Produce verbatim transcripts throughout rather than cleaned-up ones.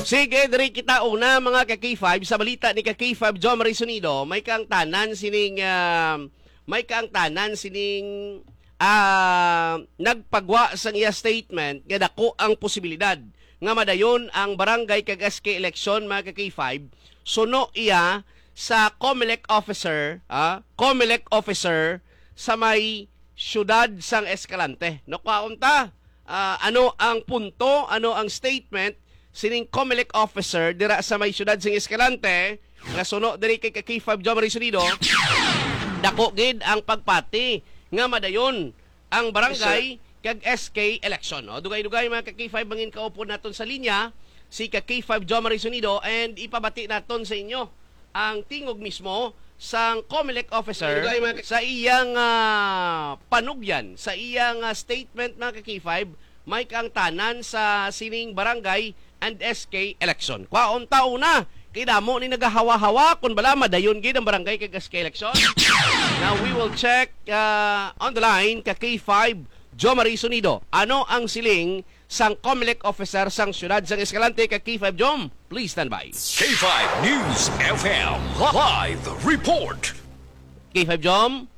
Sige, diri kita una, mga ka-K five, sa balita ni ka-K five Jomari Sonido, may kaangtanan sining, ah, may kaangtanan sining, ah, nagpagwa sang iya statement nga dako ang posibilidad nga madayon ang barangay kag S K election, mga ka-K five, suno iya sa Comelec officer, ah, Comelec officer sa may siyudad sang Escalante. No, kwaon ta, ah, ano ang punto, ano ang statement sining Comelec officer dira sa may siyudad sing Escalante, nga suno diri kay ka-K five Jomari Sonido, dako gid ang pagpati nga madayon ang barangay kag S K election. O, dugay-dugay, mga ka-K five, mangin kaupod naton sa linya si ka-K five Jomari Sonido, and ipabati naton sa inyo ang tingog mismo sang Comelec officer sa iyang, ah, panugyan, sa iyang, ah, statement, mga ka-K five, may kaangtanan sa sining barangay and S K election. Kwaon ta una, kay damo ni nagahawa-hawa kung bala madayon gid ang barangay kag S K election. Now we will check, ah, on the line ka-K five Jomari Sonido. Ano ang siling sang Comelec officer sang siyudad sang Escalante ka-K five Jom? Please stand by. K five News F M live report. K five Jom?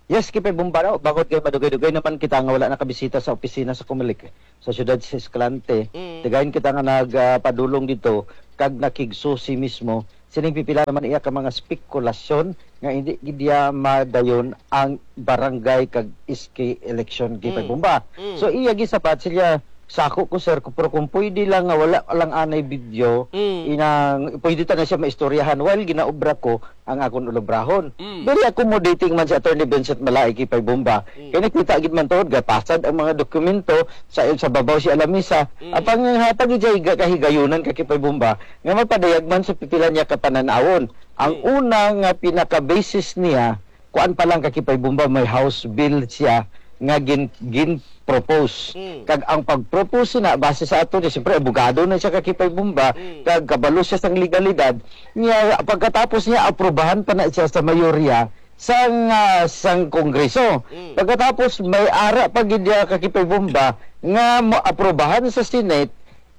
Yes, Kipay Bumbaro, bangod kay madugay-dugay naman kita nga wala nakabisita sa opisina sa Comelec sa siyudad sa Escalante. Mm. Tigayon kita nga nagpadulong dito kag nakigsusi mismo sining pipila naman iya ka mga spekulasyon nga hindi gid iya madayon ang barangay kag S K election, Kipay Mm. Bumba. Mm. So iya gisapat siya, "Sako ko, sir, ko, pero kung pwede lang nga wala lang anay video, Mm. inang pwede ta na siya maistoryahan while ginaobra ko ang akon ulabrahon." Mm. Very accommodating man si Attorney Vincent Malay, Kipay Bumba. Mm. Kay nakita gid man tuod, gapasad ang mga dokumento sa, sa babaw si Alamisa. Mm. Apang hatag gid siya higa-, kahigayunan ka, Kipay Bumba, nga mapadayag man sa pipila niya ka panan-awon. Ang Mm. una nga pinaka-basis niya, kuan pa lang ka, Kipay Bumba, may House bill siya nga gin-, gin-propose. Mm. Kag ang pag-propose na, base sa ato ni, siyempre, abogado na siya ka, Kipay Bumba, Mm. kag kabalo siya sang legalidad. Niya, pagkatapos niya, aprubahan pa na siya sa mayorya sang, ah, sang Kongreso. Mm. Pagkatapos, may ara pa gid niya ka, Kipay Bumba, nga maaprubahan sa Senate,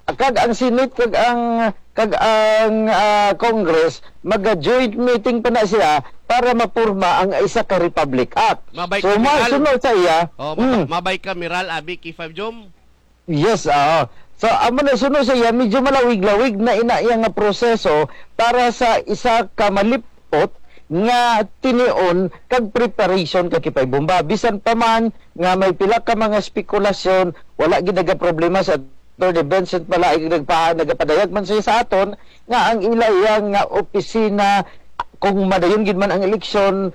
kag ang Senate kag ang, kag ang, ah, Congress, maga-joint meeting pa na sila para mapurma ang isa ka Republic Act. Mabay So, ka, Miral. masunod sa iya, Oh, mabay, Mm. mabay ka, Miral, abi, K five Jom? Yes, oo. So, amo na, sunod sa iya, medyo malawig-lawig na ina iya nga proseso para sa isa ka malip-, ot nga tinion kag preparation ka, Kipay Bumba. Bisan pa man nga may pila ka mga spekulasyon, wala gid nagaproblema sa Attorney Vincent Malay, nagpa-, nagapadayag man siya sa aton nga ang ila iya nga opisina, kung madayon gid man ang eleksyon,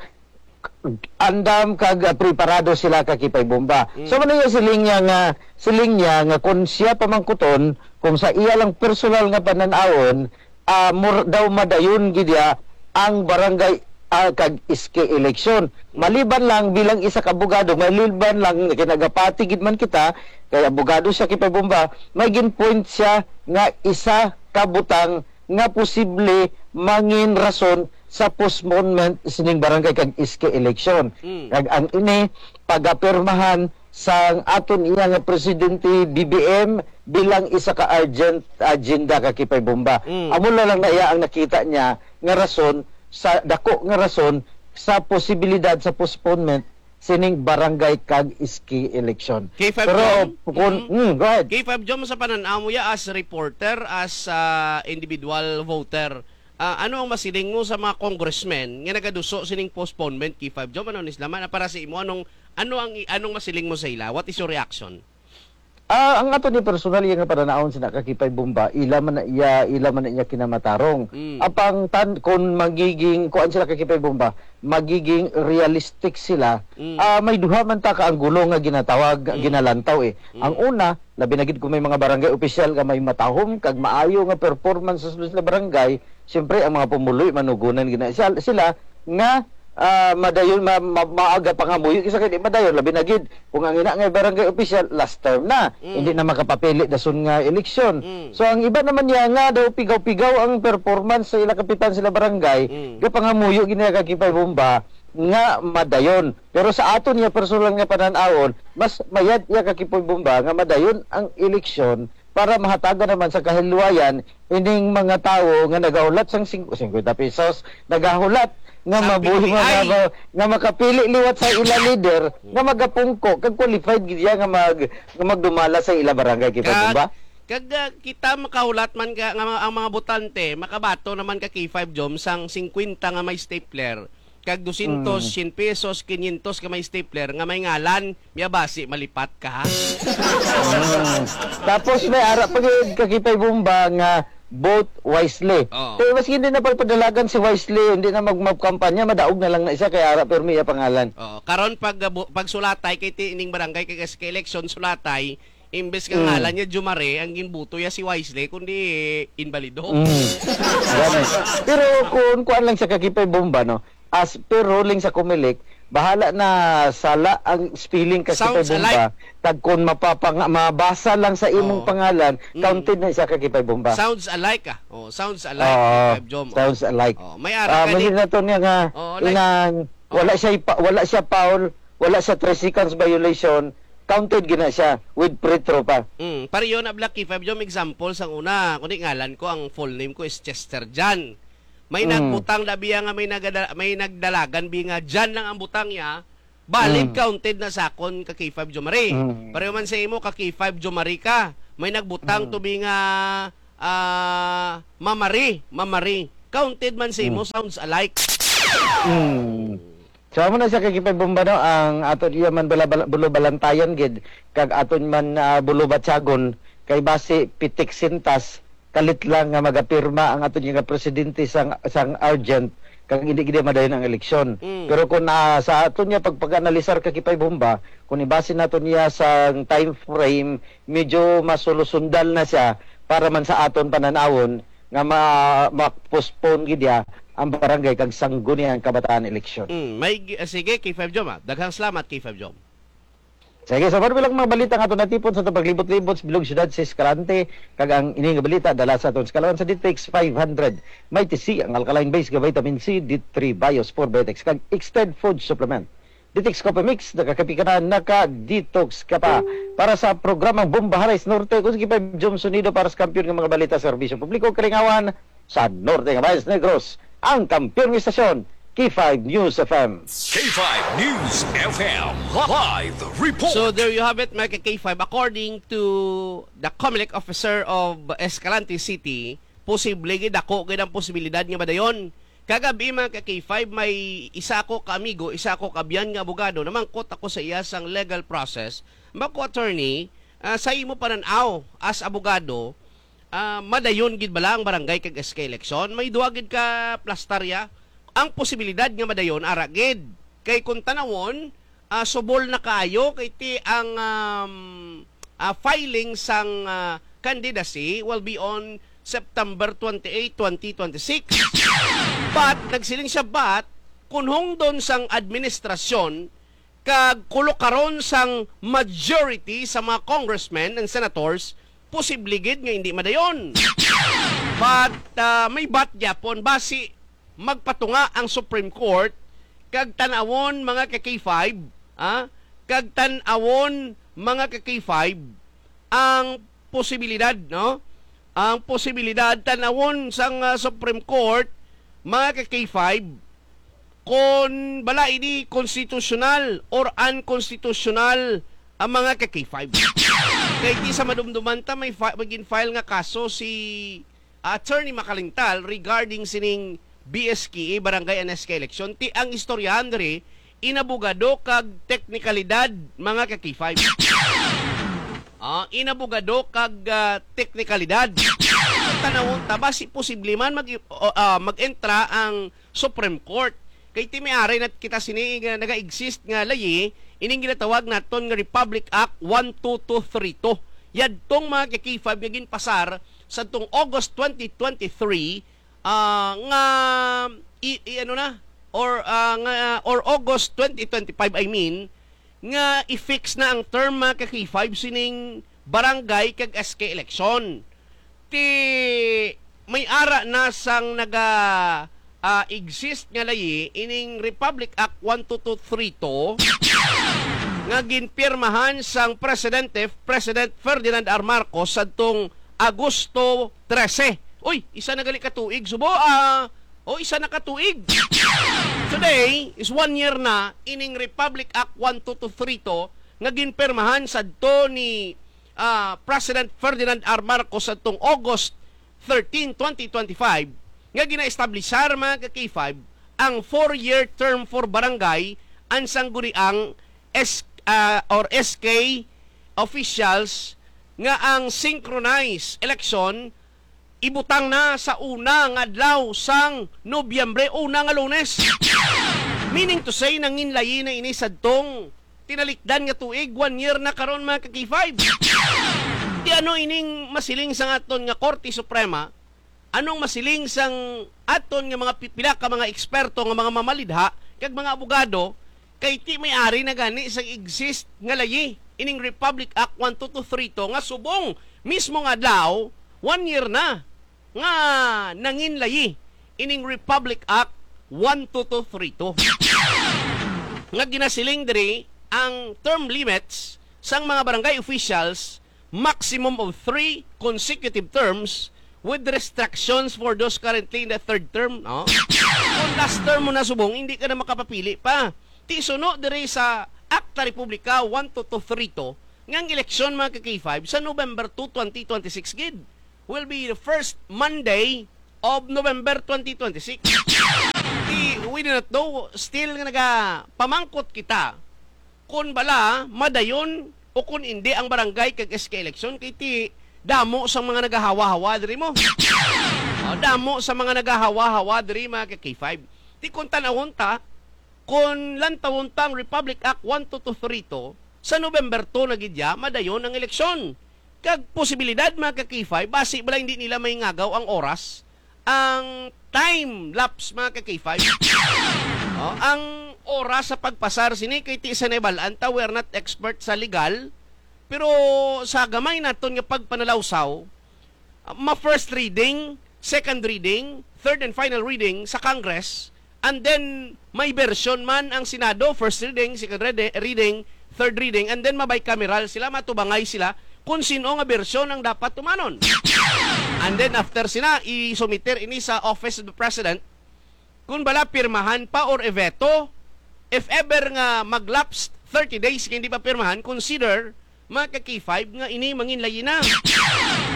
andam kag, ah, preparado sila ka, Kipay Bumba. Mm. So, man iya siling niya nga, siling niya nga kung siya pamangkuton, kung sa iya lang personal nga panan-awon, ah, mur-, daw madayon gid ya ang barangay, ah, kag S K election. Maliban lang bilang isa ka abogado, maliban lang kinagapati gid man kita, kay abogado siya, Kipay Bumba, may gin-point siya nga isa ka butang nga posible mangin rason sa postponement sining barangay kag S K election. Mm. Kag ang ini pagapirmahan sang aton iya nga presidente, B B M, bilang isa ka urgent agenda ka, Kipay Bumba. Mm. Amo na lang na iya ang nakita niya nga rason, sa dako nga rason sa posibilidad sa postponement sining barangay kag S K election. K five Pero Jom? kung, Mm. mm, go ahead. K five Jom, sa panan-aw mo ya as reporter, as, ah, individual voter, ah, ano ang masiling mo sa mga congressmen nga nagaduso sining postponement, K five Jom? Ano ni sila man? Para sa imo, anong, ano ang i-, anong masiling mo sa ila? What is your reaction? Ah, ang ato ni personal iya nga pananaon sina ka, Kipay Bumba, ila man na iya, ila man na iya kinamatarong. Mm. Apang tan-, kung magiging, kuan sila ka, Kipay Bumba, magiging realistic sila, Mm. ah, may duha man ta ka anggulo nga ginatawag, Mm. ginalantaw eh. Mm. Ang una, labi na gid kung may mga barangay opisyal nga may matahom kag maayo nga performance sa sulod sila barangay, siyempre ang mga pumuloy manugunan gina-, sila, sila nga, ah, madayon, ma-, ma-, maaga pangamuyo, kisa kay di madayon, labi na gid kung ang ina nga barangay opisyal last term na, Mm. hindi na makapapili dason nga eleksyon. Mm. So, ang iba naman niya nga daw pigaw-pigaw ang performance sa ila kapitan sila barangay, Mm. gapangamuyo gid nila ka, Kipay Bumba nga madayon. Pero sa aton niya personal nga panan-awon, mas mayad iya ka, Kipay Bumba, nga madayon ang eleksyon para mahatagan naman sa kahilwayan ining mga tawo nga nagahulat sang sing-, singkwenta pesos, nagahulat nga Sa mabuhi, nga, P T I. nga, nga makapili liwat sa ila leader nga magapungko kag qualified gid siya nga mag-, nga magdumala sa ila barangay, kita mo Kag, ba? kag, ah, kita makahulat man ka nga ang mga botante makabato naman ka K five Jom sang singkwenta nga may stapler, kag dosyentos, Mm. syen pesos, kinyentos ka may stapler nga may ngalan, miyabasi malipat ka, ha? Mm. Tapos may ara pa gid ka K five Bomba nga vote wisely. Oo. Kay maski hindi na pagpadalagan si Wisely, hindi na mag-, magkampanya, madaog na lang na siya kay ara pirmi iya pangalan. Oo. Karon pag, ah, bu-, pag sulatay kay ti-, ining barangay kag S K election sulatay, imbes nga Mm. ngalan niya Jomare, ang ginbuto niya si Wisely, kundi inbalido. Mm. Gani. Pero kung kuan lang siya ka K five Bomba, no? As per ruling sa Comelec, bahala na sala ang spelling ka K five Bomba. Sounds alike. Kag kung mapapang-, mabasa lang sa imong Oo. pangalan, Mm. counted na siya ka K five Bomba. Sounds alike, ah. Oh, sounds alike, Oo, K five Jom. Sounds alike. Oh, may ara Ah, ka ni masin na to niya nga, Oo, like inang, wala Oo. siya ipa-, wala siya foul, wala siya three seconds violation, counted gina siya with free throw pa. Mm, pareho na, Black K five Jom, example sang una, kundi ngalan ko, ang full name ko is Chester John. May Mm. nagbutang na biya nga may nagada-, may nagdalagan bi nga John lang ang butang niya, valid, Mm. counted na sa akon ka K five Jomari. Mm. Pareho man sa imo ka K five Jomari ka, may nagbutang Mm. to bi nga, ah, Mamari, Mamari. Counted man sa imo, Mm. sounds alike. Mm. So, amo na siya ka K five Bomba, no? Ang ato niya man bala-, bala-, bulubalantayan gid, kag aton man, ah, bulubatsagon, kay basi pitik sintas, kalit lang nga magapirma ang aton nga presidente sang, sang urgent, kag hindi gid madayon ang eleksyon. Mm. Pero kung, ah, sa aton niya pagpag-analisar ka K five Bomba, kung ibase nato niya sa time frame, medyo masulusundal na siya para man sa aton panan-awon nga ma-, ma-postpone gid ya ang barangay kag sangguniang kabataan eleksyon. Mm, may gi-, ah, sige, K five Jom, ah. Daghang salamat, K five Jom. Sige, sa marami lang mga balita nga ato natipon sa aton paglibot-libot sa bilog siyudad sa Escalante, kag ang ini nga balita dala sa aton sa kalawan sa Ditex five hundred. May T C ang alkaline base nga vitamin C, D three Bios, four Biotics, kag Extend Food Supplement. Ditex Coffee Mix, nakakapi ka na, naka-detox ka pa. Para sa programang Bomba Haris Norte, kung sige pa, Jom Sonido para sa kampiyon nga mga balita, serbisyo publiko, kalingawan sa Norte nga Bayas Negros, ang kampiyon nga istasyon, K five News F M. K five News F M live report. So there you have it, mga ka K five. According to the Comelec officer of Escalante City, posible gid, dako gid ang posibilidad nga madayon. Kagabi, mga ka K five, may isa ako ka amigo, isa ako ka biyan nga abogado, namangkot ako sa iya sang legal process. Mako, attorney, ah, sa imo panan-aw as abogado, ah, madayon gid bala ang barangay kag S K election? May duha gid ka plastarya. Ang posibilidad nga madayon, ara gid. Kay kung tanawon, ah, subol na kaayo kay ti ang, um, ah, filing sang, ah, candidacy will be on September twenty-eight, twenty twenty-six. But, nagsiling siya, but, kung hungdon sang administrasyon kag kulukaron sang majority sa mga congressmen and senators, posible gid nga hindi madayon. But, ah, may but gyapon, basi magpatunga ang Supreme Court kag tan-awon, mga ka K five, ah, kag tan-awon, mga ka K five, ang posibilidad, no? Ang posibilidad tan-awon sang, ah, Supreme Court, mga ka K five, kon bala ini konstitusyonal or unconstitutional ang mga ka K five. Kay di sa madumduman ta, may fi-, may gin-file nga kaso si Attorney Makalintal regarding sining B S K E, Barangay and S K election. Ti ang istoryahan diri, inabogado kag teknikalidad, mga ka K five. Ah, inabogado kag, ah, teknikalidad. Tanawon ta ba si posible man mag, o, ah, mag-entra ang Supreme Court? Kay ti may aray na kita sini nga naga-exist nga layi, ining ginatawag naton nga Republic Act one two two three two. Yadtong mga ka K five nga ginpasar sadtong August twenty twenty-three, ah, nga i, i, ano na, or, ah, nga, or August twenty twenty-five, I mean, nga i-fix na ang term, mga ka K five, sining barangay kag S K election. Ti may ara na sang naga, ah, exist nga layi ining Republic Act one two two three two nga ginpirmahan sang presidente, President Ferdinand R. Marcos, sadtong Agosto trese. Uy, isa na gali ka tuig, subo, ah, o isa na ka tuig. Today is one year na ining Republic Act one two two three two nga ginpirmahan sadto ni, ah, President Ferdinand R. Marcos sadtong August thirteen, twenty twenty-five, nga gina-establishar, mga ka-K five, ang four-year term for barangay and sangguniang S-, ah, or S K officials nga ang synchronized election ibutang na sa una nga adlaw sang Nobyembre, una nga Lunes. Meaning to say, nanginlayi na ini sadtong tinalikdan nga tuig, one year na karon, mga ka-K five. Di ano ining masiling sang aton nga Korte Suprema? Anong masiling sang aton nga mga pi-, pila ka mga eksperto, nga mga mamalidha, kag mga abogado, kay ti may ari na gani sang exist nga layi ining Republic Act one two two three two nga subong mismo nga adlaw, one year na nga nanginlayi ining Republic Act one two two three two nga ginasiling diri ang term limits sang mga barangay officials, maximum of three consecutive terms with restrictions for those currently in the third term, no? Kung last term mo na subong, hindi ka na makapapili pa. Ti suno diri sa Akta Republika one two two three two nga ang eleksyon, mga ka-K five, sa November two, twenty twenty-six gid will be the first Monday of November twenty twenty-six. Di, we do not know, still nga nagapamangkot kita kung bala madayon o kung hindi ang barangay kag S K election, kay ti damo sa mga nagahawa-hawa diri mo. O, damo sa mga nagahawa-hawa diri, mga ka-K five. Ti kung tanawon ta, kung lantawon ta ang Republic Act one two two three two, sa November two na gid ya, madayon ang eleksyon. Kag posibilidad, mga ka-K five, basi bala hindi nila maingagaw ang oras, ang time lapse, mga ka-K five. Oh, ang oras sa pagpasar sini, kay ti sa nabal-an ta, we are not expert sa legal, pero sa gamay naton nga pagpanalawsaw, ma-first reading, second reading, third and final reading sa Congress, and then may version man ang Senado, first reading, second reading, reading, third reading, and then ma-bicameral sila, matubangay sila kung sino nga version ang dapat tumanon. And then after sina, isumiter ini sa Office of the President, kung bala pirmahan pa or i-veto. If ever nga mag-lapse thirty days nga hindi pa pirmahan, consider, mga ka-K five, nga ini manginlayi na.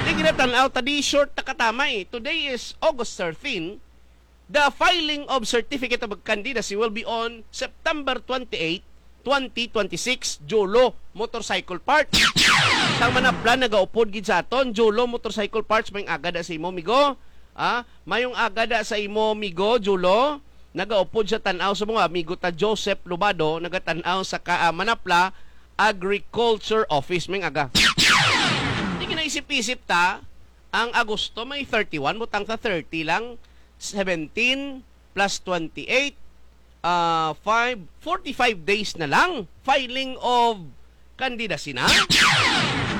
Di ginatan-aw ta, di short ta katama eh. Today is August thirteen. The filing of certificate of candidacy will be on September twenty-eight, twenty twenty-six, Jolo Motorcycle Parts. Sang manapla nagaupod gid sa aton, Jolo Motorcycle Parts, may agad sa imo, migo. Ah, mayong aga da sa imo, migo, Julo. Nagaupod sa tan-aw sa mga amigo ta, Joseph Lubado, nagatan-aw sa ka-, ah, Manapla Agriculture Office. May aga. Di ginaisip-isip ta, ang Agosto may thirty-one, butang ta thirty lang, seventeen plus twenty-eight, ah, five, forty-five days na lang filing of candidacy na.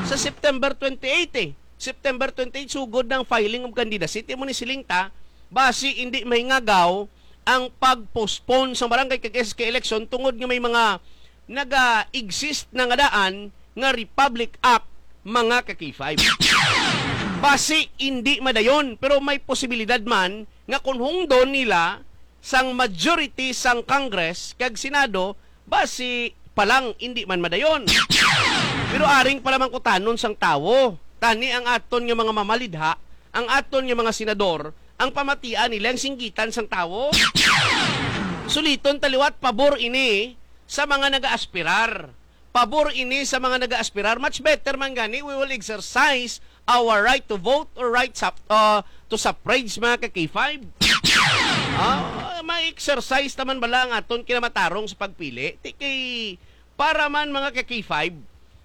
Sa September twenty-eight eh. September twenty-eight, sugod ng filing of candidacy. Ti mo ni siling ta, basi hindi mahingagaw ang pag-postpone sa barangay kag S K election tungod nga may mga naga-exist na nga daan nga Republic Act, mga ka-K five. Basi hindi madayon, pero may posibilidad man nga kung hungdon nila sang majority sang Congress kag Senado, basi pa lang hindi man madayon. Pero aring palamangkutanon sang tawo, tani ang aton nga mga mamalidha, ang aton nga mga senador, ang pamatian nila ang singgitan sang tawo. Suliton ta liwat, pabor ini sa mga nagaaspirar. Pabor ini sa mga nagaaspirar. Much better man gani, we will exercise our right to vote or right sap-, uh, to suffrage, mga ka-K five. Ah, ma-exercise naman bala ang aton kinamatarong sa pagpili. Ti kay para man, mga ka-K five,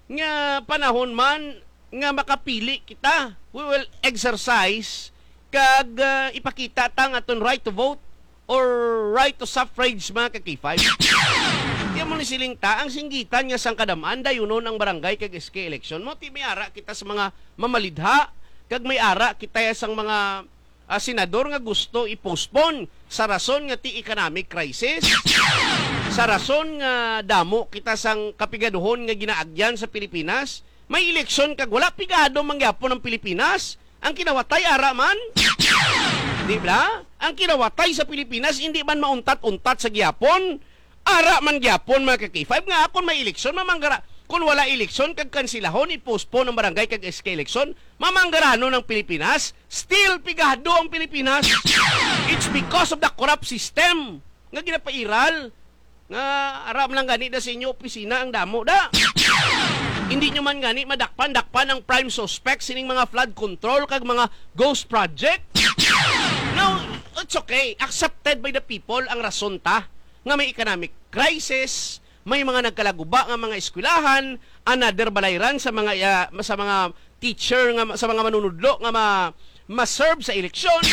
nga panahon man nga makapili kita, we will exercise kag, ah, ipakita ta ang aton right to vote or right to suffrage, mga ka-K five. Kaya mo ni siling ta, ang singgitan nga sang kadam-an, dayunon ang barangay kag S K election mo. Ti may ara kita sa mga mamalidha, kag may ara kita sang mga, ah, senador nga gusto i-postpone sa rason nga ti economic crisis. Sa rason nga damo kita sang kapigaduhon nga ginaagyan sa Pilipinas, may eleksyon kag wala, pigado man gyapon ang Pilipinas. Ang kinawatay, ara man. Di ba? Ang kinawatay sa Pilipinas, hindi man mauntat-untat sa gihapon. Ara man gyapon, mga ka-K five, nga kung may eleksyon, mamanggara-, kung wala eleksyon, kag kansilahon, i-postpone ang barangay kag S K eleksyon, mamanggaranon ang Pilipinas, still pigado ang Pilipinas. It's because of the corrupt system nga ginapairal. Nga aram lang gani da sa inyo opisina ang damo da. Hindi nyo man gani madakpan-dakpan ang prime suspect sining mga flood control kag mga ghost project. Now, it's okay. Accepted by the people ang rason ta nga may economic crisis, may mga nagkalaguba nga mga eskwelahan, another balayran sa mga, ah, sa mga teacher nga ma-, sa mga manunudlo nga ma-, ma-serve sa eleksyon,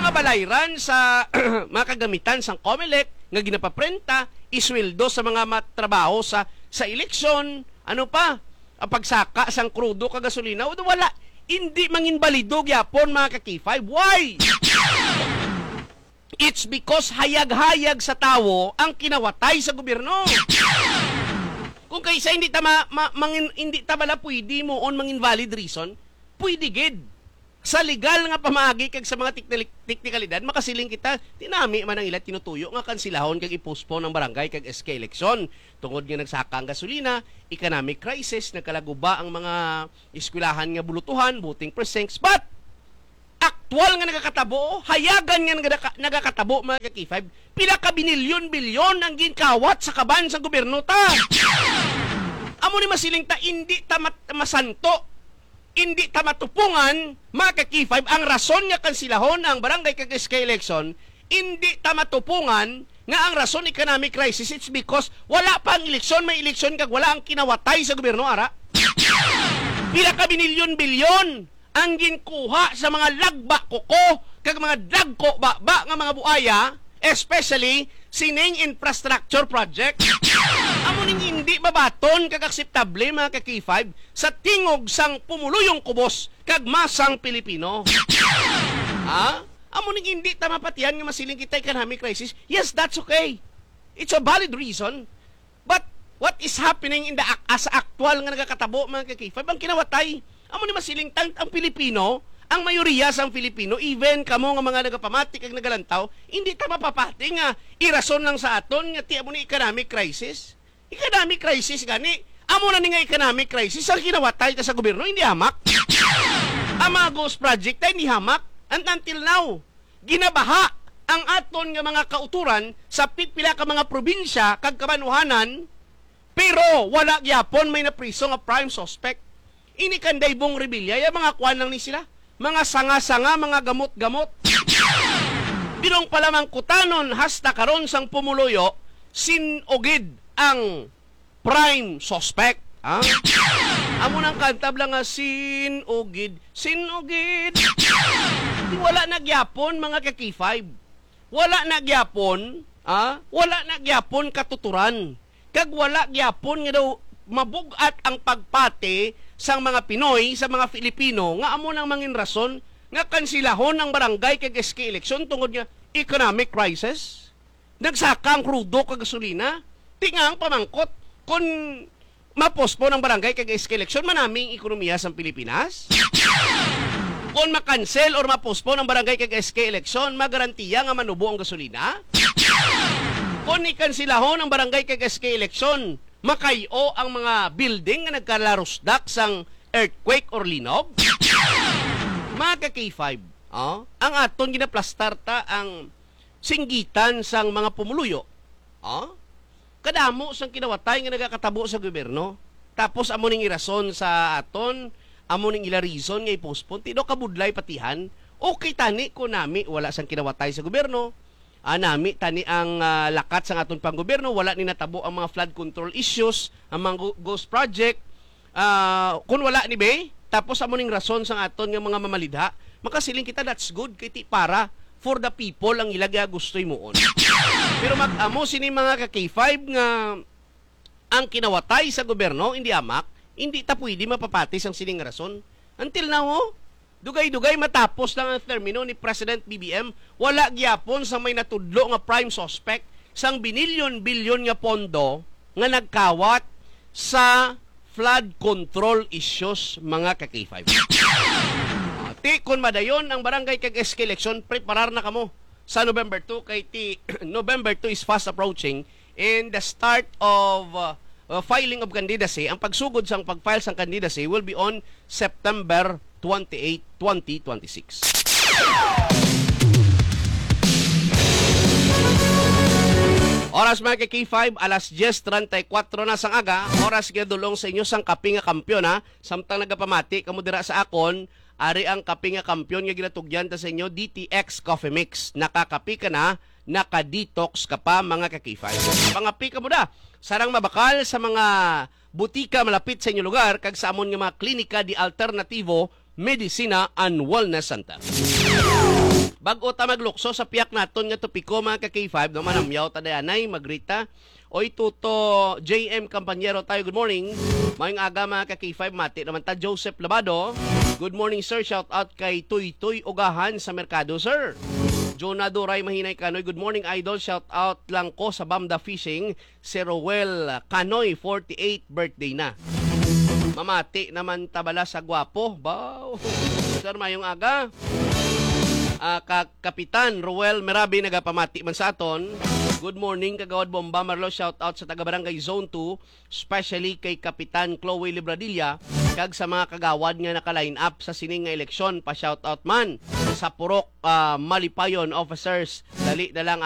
mga balayran sa mga kagamitan sang Comelec nga ginapaprenta, isweldo sa mga matrabaho sa, sa eleksyon, ano pa, ang pagsaka sang krudo kag gasolina, wala, hindi manginbalido gyapon, mga ka-K five. Why? It's because hayag-hayag sa tawo ang kinawatay sa gobyerno. Kung kaysa hindi ta ma-, ma-, mangin-, hindi ta bala pwede moon mangin valid reason, pwede gid. Sa legal nga pamaagi kag sa mga teknil-, teknikalidad, makasiling kita, tinami man ang ila tinutuyo nga kansilahon kag i-postpone ang barangay kag S K eleksyon tungod nga nagsaka ang gasolina, economic crisis, nagkalaguba ang mga eskwelahan nga bulutuhan, voting precincts, but aktual nga nagakatabo, hayagan nga nagaka-, nagakatabo, mga ka-K five, pila ka binilyon-bilyon ang ginkawat sa kaban sa gobyerno ta. Amo ni masiling ta, hindi ta mat-, masanto, hindi ta matupungan, mga ka-K five, ang rason nga kansilahon ang barangay kag S K election, hindi ta matupungan nga ang rason economic crisis, it's because wala pa ang eleksyon, may eleksyon kag wala ang kinawatay sa gobyerno, ara. Pila ka binilyon-bilyon ang ginkuha sa mga lagba kuko kag mga dagko baba nga mga buaya, especially sining infrastructure project. Amo ning hindi mabaton kag akseptable, mga ka-K five, sa tingog sang pumuluyong kubos kag masang Pilipino. Ha? Amo ning hindi ta mapatihan nga masiling kita economic crisis. Yes, that's okay. It's a valid reason. But what is happening in the ac-, as actual nga nagakatabo, mga ka-K five, ang kinawatay? Amo ni masiling ta, ang Pilipino, ang mayoriya sang Pilipino, even kamo nga mga nagapamati kag nagalantaw, hindi ta mapapati nga irason lang sa aton nga ti amo ni economic crisis. Economic crisis gani, amo na ni nga economic crisis ang kinawatay ta sa gobyerno, hindi hamak. Ang mga ghost project ta, hindi hamak. And until now, ginabaha ang aton nga mga kauturan sa pipila ka mga probinsya kag kabanwahanan, pero wala gyapon may napriso nga prime suspect. Ini kan Daybong Revilla, ya mga kuan lang ni sila, mga sanga-sanga, mga gamot-gamot. Binong pa lamang kutanon hasta karon sang pumuluyo, sin-o gid ang prime suspect. Ha? Amo nang kantab lang nga sin-o gid, sin-o gid. Di wala na gyapon, mga ka-K five. Wala na gyapon, ha? Wala na gyapon katuturan. Kag wala gyapon nga daw mabug-at ang pagpati sang mga Pinoy sa mga Filipino nga amo nang mangin rason nga kansilahon ang barangay kag S K election tungod nga economic crisis. Nagsaka ang krudo kag gasolina. Ti nga ang pamangkot, kon ma-postpone ang barangay kag S K election, manami ang ekonomiya sa Pilipinas? Kon ma-cancel or ma-postpone ang barangay kag S K election, magarantiya nga manubo ang gasolina? Kon ikansilahon ang barangay kag S K election, makay-o ang mga building nga nagkalarusdak sang earthquake or linog? Mga ka-K five, oh, ang aton ginaplastar ta ang singgitan sang mga pumuluyo. Ah? Kadamo sang kinawatay nga nagakatabo sa gobyerno. Tapos amo ning irason sa aton, amo ning ila reason nga i-postpone. Ti daw kabudlay patihan. Okay tani kung nami wala sang kinawatay sa gobyerno. Ah, nami tani ang, ah, lakat sang aton panggobyerno, wala ni natabo ang mga flood control issues, ang mga go-, ghost project. Ah, kung wala ni be, tapos amo ning rason sang aton nga mga mamalidha, makasiling kita, that's good, kay ti para for the people ang ila gusto himuon. Pero mag-amo sini mga ka-K five nga ang kinawatay sa gobyerno, hindi amak, hindi ta pwede mapapati sang sining rason. Until now, oh, dugay-dugay matapos lang ang termino ni President B B M, wala gyapon sa may natudlo nga prime suspect sang binilyon-bilyon nga pondo nga nagkawat sa flood control issues, mga ka-K five. Ah, ti kon madayon ang barangay kag S K election, preparar na kamo sa November two, kay ti November two is fast approaching, and the start of uh, uh, filing of candidacy, ang pagsugod sang pag-file sang candidacy will be on September twenty-eight, twenty twenty-six. Oras, mga ka-K five, alas diyes treinta y cuatro na sang aga. Oras nga dulong sa inyo sang kape nga kampiyon, ha. Samtang nagapamati kamo dira sa akon, ari ang kape nga kampiyon nga ginatugyan ta sa inyo, D T X Coffee Mix. Nakakape ka na, naka-detox ka pa, mga ka-K five. Pangape ka mo da. Sarang mabakal sa mga butika malapit sa inyo lugar kag sa amon nga mga klinika di alternatibo, medisina, and wellness center. Bag-o ta maglukso sa piyak naton nga topiko, mga ka-K five, no, manamyaw ta dayanay, magrita. Oy, Tuto, J M Campañero tayo, good morning. Mayong aga, mga ka-K five, mati naman ta, Joseph Labado. Good morning, sir. Shout out kay Toy Toy Ugahan sa Merkado, sir. Jonah Duray Mahinay Kanoy, good morning, idol. Shout out lang ko sa Bamda Fishing. Si Roel Kanoy, forty-eight, birthday na. Mamati naman ta bala sa gwapo. Baw. Sir, mayong aga. Ah, ka Kapitan Roel Merabi nagapamati man sa aton. Good morning, Kagawad Bomba Marlo. Shout out sa taga Barangay Zone two, especially kay Kapitan Chloe Libradilla, kag sa mga kagawad nga naka-line up sa sining nga eleksyon. Pa-shout out man sa Purok, ah, Malipayon officers. Dali na lang at